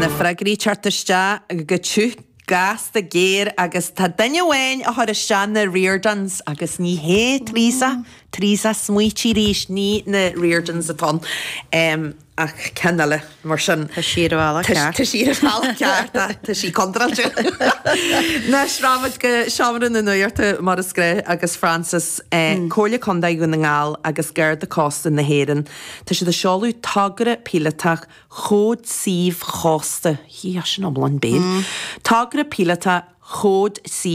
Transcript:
Tá na freagraí ag teacht isteach go tiubh gasta géar agus tá duine amháin a chuir isteach na Riordans agus ní hé Teresa, Teresa smaoitigh arís, ní na Riordans atá ann ach ceann eile mar sin. Tá sí ar an bhealach ceart. Tá sí ar an bhealach ceart ach tá sí contráilte. Anois rachaimid go seomra na nuachta mar is gnách agus Frances, Comhairle Contae Dhún na nGall agus Garda Cósta na hÉireann, tá siad ag seoladh togra píolótach Chód Suímh Chósta, hí, sin iomlán béil, Togra píolótach Chód Suímh.